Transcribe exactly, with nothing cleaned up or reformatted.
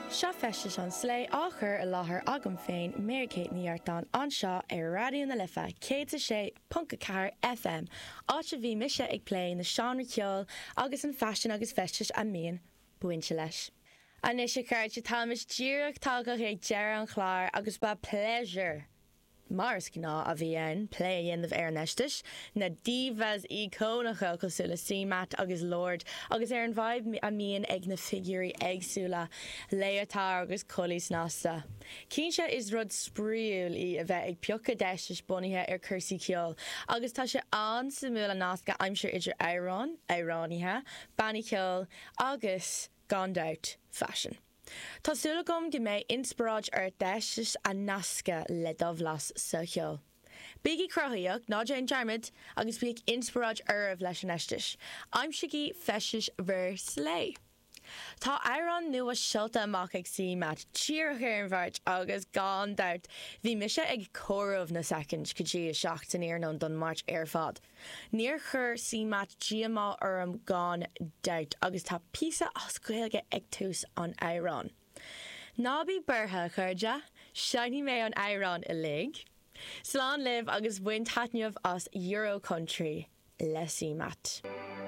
Seo Feistis an Slé á chur i láthair agam féin Mary Kate Ní Artáin anseo ar Raidió na Life céad a sé ponc a ceathair FM, áit a bhí mise ag plé na seánraí ceoil agus an faisean agus feistis a mbíonn bainte leis. Anois a chairde táimid díreach tagtha ag deireadh an chláir agus ba pléisiúr. Mar is gnáth a bhí ann plé a dhéanamh ar an fheisteas, na divas íocónacha cosúil le CMAT agus Lorde agus ar an vibe a mbíonn ag na figiúirí éagsúla, leotard agus culaith snasta. Cinnte is rud spraíúil í a bheith ag piocadh d'fheistis bunaithe ar cúrsaí ceoil, agus tá sé an-suimiúil an nasc a aimsiú idir amhráin, amhránaithe, bannaí ceoil agus gan dabht faisean. Tá súil agam go mbeidh inspioráid ort d'fheistis a nascadh le do bhlas sa cheol. Bígí cruthaitheach ná déan dearmad agus bíodh inspioráid oraibh leis an fheisteas. Aimsígí feistis bhur slé. Tá amhrán nua seolta amach ag CMAT díreach ar an Mháirt agus gan dabht bhí mise ag comhaireamh na soicind go dtí a seacht san iarnóin don Mháirt ar fad. Níor chuir CMAT díomá orm gan dabht agus tá píosa as Gaeilge ag tús an amhráin. Ná bí buartha a chairde, seinnfidh mé an amhrán uilig. Slán libh agus bain taitneamh as Euro Country le CMAT.